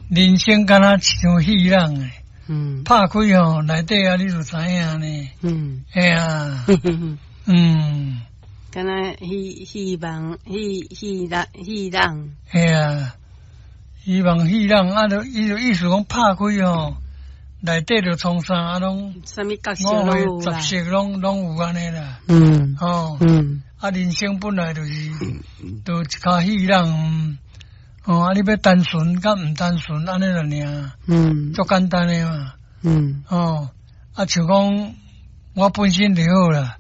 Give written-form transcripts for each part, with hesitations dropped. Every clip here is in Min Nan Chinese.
人生敢若像戲弄的，拍開吼，內底啊，你就知影呢。嘿啊，敢若戲戲夢戲戲弄戲弄。嘿啊，希望戲弄啊，就伊就意思講拍開吼，內底就創啥啊，攏啥物角色攏有啦。十色攏有按呢啦。吼，啊，人生本來就是，就一跤戲弄，哦，啊，你欲單純佮毋單純，按呢就爾。足簡單的嘛。哦，啊，像講我本身就好啦。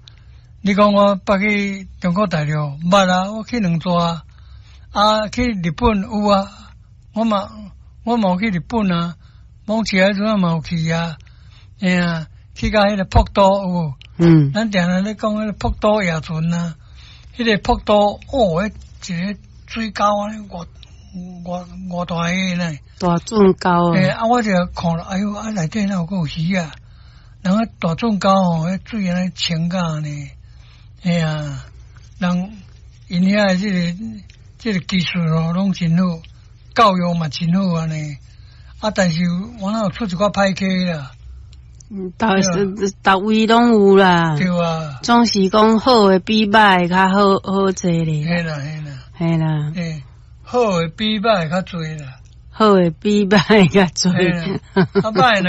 你講我捌去中國大陸，捌啊，我去兩逝啊，啊，去日本有啊，我嘛有去日本啊，往起來陣嘛有去啊，嘿啊，去到彼个瀑布有無？咱定定咧講彼个瀑布夜船啊，彼个瀑布哦，彼一个水溝按呢，偌偌偌大个呢。大圳溝。欸，啊，我就看了，哎喲，啊，內底哪有閣有魚啊？人個大圳溝吼，彼水按呢清甲按呢，嘿啊，人𪜶遐的這個技術吼，攏真好，教育嘛真好按呢。啊，但是我哪有出一寡歹溪啦。逐逐位攏有啦。對啊。總是講好的比歹的較好好濟咧。嘿啦嘿啦。嘿啦。欸，好的比歹的較濟啦。好的比歹的較濟。啊，歹若